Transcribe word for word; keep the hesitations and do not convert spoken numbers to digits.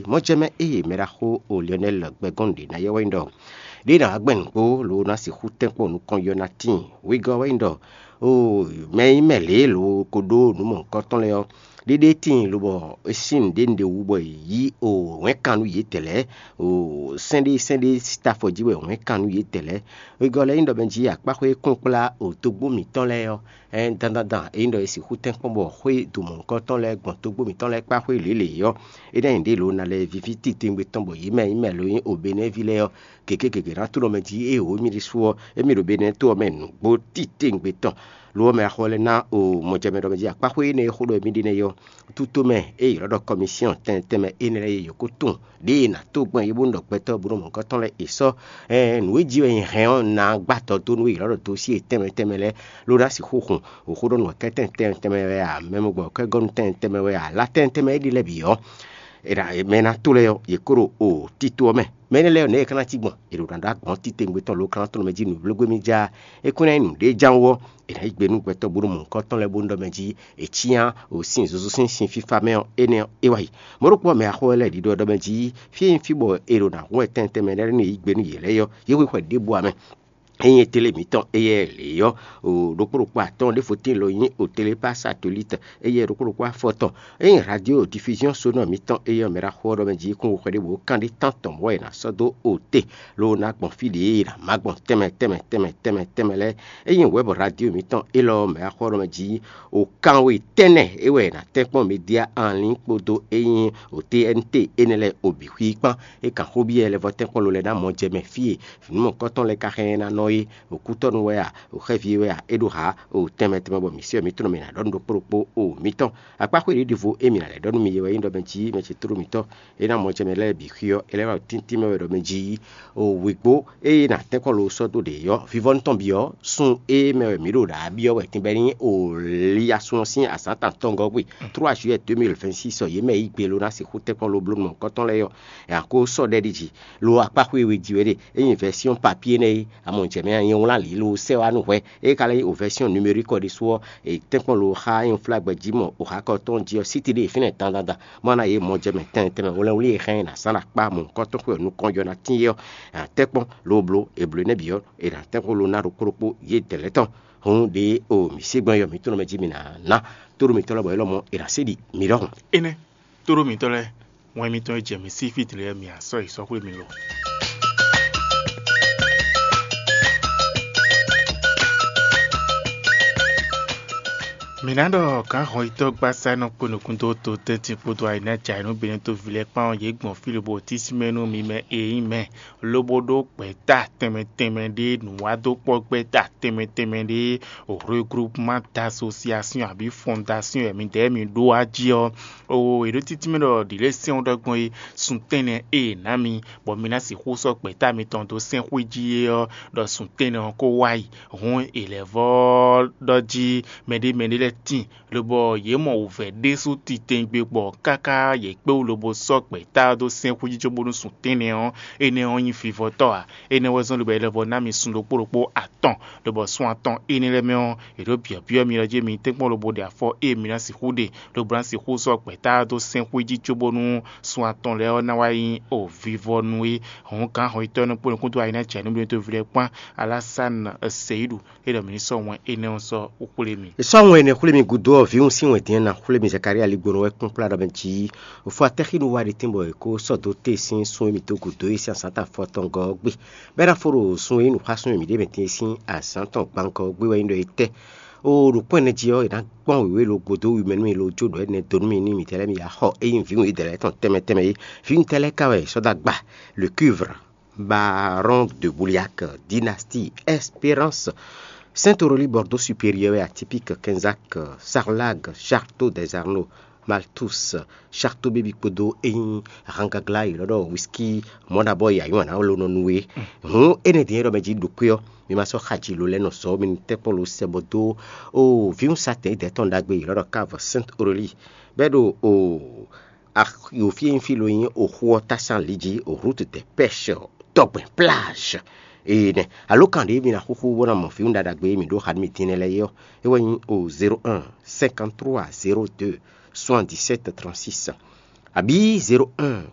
Mɔjɛmɛ eye mɛɖaxó o Lionel gbɛgɔn ɖě ná yɛ wɛ nyí ɖɔ ɖě ná wá gbɛn nǔgbó lo ná sixú tɛ́nkpɔ́n nukɔn yɔ ná tíin. Wegɔ́ wɛ nyí ɖɔ o mɛ nyí mɛ lě lo ko ɖó nǔ mɔ̌hunkɔtɔn lɛ́ɛ ɔ́, ɖéɖé tíin lobɔ é sín nǔɖé nǔɖé wú bɔ è yí o wɛ̌nkan nú yětɛn lɛ́ɛ, o sɛ́n ɖé sɛ́n ɖé síta afɔ jí wɛ wɛ̌nkan nú yětɛn lɛ́ɛ. Wegɔ́ lɛ́ɛ nyí ɖɔ mɛ jí akpáxwé kúnkplá o togbó mǐtɔn lɛ́ɛ ɔ́, dandandan é nyí ɖɔ è sixú tɛ́nkpɔ́n bɔ xwé do mɔ̌hunkɔtɔn lɛ́ɛ gbɔn togbó mǐtɔn lɛ́ɛ kpá xwé lělě ɔ́, é ná nyí ɖě lo ná lɛ́ víví titewungbe tɔn bɔ yě mɛ nyí mɛ lo nyí Obenɛ́ví lɛ́ɛ ɔ́, gěgé gěgé ná tlɔ́ mɛ jí ée wǒ émí ɖésú ɔ́, émí ɖo Benɛ́ to ɔ́ mɛ nǔgbó titewungbe tɔn. Lo ɔ́, mɛ axɔ lɛ́ɛ ná o mɔjɛmɛ ɖɔ mɛ jí akpáxwé énɛ́ e xó ɖɔ émí ɖe nɛ́ ɔ́, tutomɛ e è ylɔ́ ɖɔ kɔmisiɔn tɛnmɛ tɛnmɛ énɛ́ lɛ́ɛ e yě ko tunwun ɖěe è nǎ tó gbɔn yě bónú ɖɔ gbɛtɔ́ bónú mɔ̌hunkɔtɔn lɛ́ɛ è sɔ́ nǔ e jí wɛ nyi hɛn ɔ́ ná gbá tɔ dó nú e è ylɔ́ ɖɔ dosíe tɛnmɛ tɛnmɛ lɛ́ɛ, ló ná sixú hun wǒxóɖɔnú wɛ̌kɛ́tɛn tɛnmɛ tɛnmɛ wɛ a, mɛmɔgbɔkɛ́gɔ́nú tɛnmɛ tɛnmɛ wɛ a, lá tɛnmɛ tɛnmɛ é ɖi lɛ́ɛ bǐ ɔ́, è nǎ mɛ e ná to lɛ́ɛ ɔ́, yě kó ɖo o tito ɔ́ mɛ. Mɛ énɛ́ lɛ́ɛ ɔ́, nɛ̌ è ka ná cí gbɔn? È ɖo nǎ ɖó agbɔ̌n titewungbe tɔn lo ka ná tlɔ́n mɛ jí nǔvlégbé mì já. É kún ná nyí nǔɖé ján wú ɔ́, è nǎ yi gbe nú gbɛtɔ́ bónú mɔ̌hunkɔtɔn lɛ́ɛ bónú ɖɔ mɛ jí è cyán o sín zozo sín sin fífá mɛ ɔ́, énɛ́ ɔ́, é wá yi. Mɔ̌ ɖokpó ɔ́, mɛ axɔ́ wɛ lɛ́ɛ ɖiɖɔ ɖɔ mɛ jí fí e nyí fí bɔ è ɖo nǎ hun wɛ tɛnmɛ tɛnmɛ lɛ́ɛ ní yi gbe nú yě lɛ́ɛ ɔ́, yě hwe xwɛ ɖěbǔ ǎ mɛ. Ényí télé mǐtɔn éyɛ́ lě ɔ́, ɖokpó ɖokpó atɔ́ɔ́n ɖěvo tíin lɔ nyí otélé pá satolíte, éyɛ́ ɖokpó ɖokpó afɔtɔn. Ényí radio diffusion sonore mǐtɔn éyɛ́ mɛ ɖo axɔ́ ɖɔ mɛ jí kún xwɛ ɖěvo kán ɖé tántɔn mɔ̌ è nǎ sɔ́ dó ote, ló ná gbɔn fí ɖě è nǎ má gbɔn tɛnmɛ tɛnmɛ tɛnmɛ tɛnmɛ tɛnmɛ lɛ́ɛ. Ényí wɛ̌bɔ radio mǐtɔn élɔ́ mɛ ɖo axɔ́ ɖɔ mɛ jí o kanwe tɛ́nnɛ é wɛ è nǎ tɛ́nkpɔ́n média anlín kpódó ényí o T N T énɛ́ lɛ́ɛ o bǐ xwí kpán. É kan xó byɔ́ lɛ́vɔ́ tɛ́nkpɔ́n lo lɛ́ɛ ná mɔ jɛ mɛ fí e vǐnúmɔkɔ́tɔn lɛ́ɛ ka hɛn ná nɔ é, o kútɔ́nú wɛ a, o xɛ́ví wɛ a, é ɖó hǎ, o tɛnmɛ tɛnmɛ bɔ mǐ sɛ́ mǐtɔn mɛ nǎ ɖɔ nú ɖokpó ɖokpó o mǐtɔn. Akpáxwé ɖěɖivo e mǐ ná lɛ́ ɖɔ nú mi é wɛ nyí ɖɔ mɛ jí mɛ ce tló mǐtɔn é ná mɔ jɛ mɛ lɛ́ɛ bǐ xwí ɔ́, é lɛ́ wá ɖo tíntín mɛ wɛ ɖɔ mɛ jí o wěgbó ée nǎ tɛ́nkɔ́n lo sɔ́ dó ɖě ɔ́, vivɔ́nú tɔn bǐ ɔ́, sun e mɛ wɛ mǐ ɖo ɖǎ byɔ́ wɛ tínbɛ́ ní o Liasun ɔ́ sín azǎn tɔn atɔngɔ́ gbe trois juillet deux mille vingt-six ɔ́, yě mɛ yí gbe lo ná sixú tɛ́nkpɔ́n lo bló nukɔntɔn lɛ́ɛ ɔ́, è nǎ ko sɔ́ ɖɛ ɖi jí. Lo akpáxwé e we jí wɛ ɖe, ényí vɛ́syɔ́n papíé nɛ́ é, a mɔ jɛ mɛ a nyɛ wlán lǐ lo sɛ́ wá nú hwɛ. É ka lɛ́ nyí o vɛ́syɔ́n numérique ɔ́ ɖésú ɔ́, è tɛ́nkpɔ́n lo xá nyɔ́flágbɛ jí mɔ o xakɔ tɔn jí ɔ́, sítí ɖé fínɛ́ dandandan, má ná yě mɔ jɛ mɛ tɛnmɛ tɛnmɛ wlɛ́nwlí e hɛn ná zán ɖo akpá mɔ̌hunkɔtɔn xwé ɔ́ nukɔn jɔ ná tín é ɔ́, è nǎ tɛ́nkpɔ́n lo bló è blǒ nɛ́ bǐ ɔ́, è nǎ tɛ́nkpɔ́n lo ná ɖokpó ɖokpó yě dɛ̌ lɛ́ɛ tɔn. Hǔn ɖě o mǐ sí gbɔn yɔ mǐtɔn mɛ jí mi ná ná tóɖó mitɔn lɛ́ɛ bɔ é lɔmɔ̌ è nǎ sí ɖi mi ɖɔhun. Énɛ́, tóɖó mitɔn lɛ́ɛ, wɛn mitɔn e jɛ mǐ sí fí tlɛ mǐ á sɔ́ yi sɔ́ xwé mi lo. Mǐ ná ɖɔ gǎn hɔnyitɔ́ gbásá nɔ kpó nukún dó to tɛ́ntin kpódó ayǐnájà e nú Benɛ́to ví lɛ́ɛ kpán ɔ́, yě gbɔn fí lobo tísímɛ nú mi mɛ e nyí mɛ, lobo ɖó gbɛ̌ta tɛnmɛ tɛnmɛ ɖé nǔwádókpɔ́gbɛ́ta tɛnmɛ tɛnmɛ ɖé regroupement d'association abǐ fondation e midɛɛ mi ɖó wá jí ɔ́, oo è ɖó títí mɛ ɖɔ ɖǐ lɛ́ɛ sɛ́n ɖɔ gbɔn é sun tɛ́nnɛ e è nǎ mi, bɔ mi ná sixú sɔ́ gbɛ̌ta mitɔn dó sɛ́n xwé jí é ɔ́, ɖɔ sun tɛ́nnɛ ɔ́ ko wá yi. Hǔn è lɛ̌ vɔ́ ɖɔ jí mɛɖé mɛɖé lɛ́ɛ tíin, lobɔ yě mɔ wǔvɛ́ ɖésú titewungbe gbɔ káká yě kpé wú lobo sɔ́ gbɛ̌ta ɔ́ dó sɛ́n xwé jí cóbónú sun tɛ́nnɛ ɔ́, énɛ́ ɔ́ nyí vivɔtɔ́ ǎ. Énɛ́ wɛ zɔ́n lobɔ è lɛ́ vɔ ná mi sun ɖokpó ɖokpó atɔn, lobɔ sun atɔn énɛ́ lɛ́ɛ mɛ ɔ́, è ɖǒ byɔ̌byɔ́ mi ɖɔ jí mi tɛ́nkpɔ́n lobo ɖe afɔ e mi ná sixú ɖe, lobo ná sixú sɔ́ gbɛ̌ta ɔ́ dó sɛ́n xwé jí cóbónú sun atɔn lɛ́ɛ ɔ́ ná wá nyí o vivɔnu é. Hǔn gǎn hɔnyitɔ́ nukún nukún dó ayi ná jɛ nú Benɛ́to ví lɛ́ɛ kpán Alásán Seyíɖu é ɖɔ mǐ ní sɔ́ wɛn énɛ́ ɔ́ sɔ́ xwlé mi. È sɔ́ wɛn énɛ́ xwlé mi gúdo ɔ́, vǐwun sín wɛn din ná xwlé mi Zakalía Ligbónɔ wɛ kpɔ́n kplá ɖɔ mɛ jí fɔ atɛ́xínu wá ɖi tɛ́nbɔ è kó sɔ́ dó te sín sun e mǐ dó gǔdo é sín azǎn tɔn afɔtɔngɔ́ ɔ́ gbe. Bɔ é ná fó ɖo sun e nyí nǔxásún e mǐ ɖe mɛ din é sín azǎn tɔn gbangɔ ɔ́ gbe wɛ nyí ɖɔ é tɛ́. Oo ɖo kpɔ́n ɛnɛ jí ɔ́, è nǎ gbɔn wěwé lo gbodó wi mɛ nú mi lo jó ɖɔ énɛ́ dó nú mi ní mǐtɛ́ lɛ́ɛ mi yi axɔ é nyí vǐwun idɛɛ lɛ́ɛ tɔn tɛnmɛ tɛnmɛ é. Vǐwun tɛ́ lɛ́ɛ ka wɛ è sɔ́ dó agba? Le cuivre, baron de Bouliac, dynastie, Espérance, Saint-Aurélie, Bordeaux supérieur et atypique, Kenzac, Sarlag, Château des Arnaud, Malthus, Château Bébi kpódó ényí Rangagla yi lɔ ɖɔ whisky mɔɖabɔ yi ayɔn ana lo nɔ nu é. Hǔn énɛ́ din e ɖɔ mɛ jí ɖokpé ɔ́, mi ma sɔ́ xaji lo lɛ́ɛ nɔ sɔ́ mi ní tɛ́kpɔ́n lo sɛ bɔ dó o vǐwun satɛn idɛɛ tɔn ɖagbe yi lɔ ɖɔ cave Sainte Aurélie, bɔ é ɖo o axi fí e nyí fí lo nyí oxu ɔ́ tásán lǐ jí, route de pêche, tɔgbɛn plage. Ee nɛ alo kan ɖě mi ná xúxú bó ná mɔ vǐwun ɖaɖagbe e mǐ ɖó xa nú mi din lɛ́ɛ é ɔ́, é wɛ nyí o zéro un cinquante trois zéro deux soixante dix sept trente six. Abǐ zéro un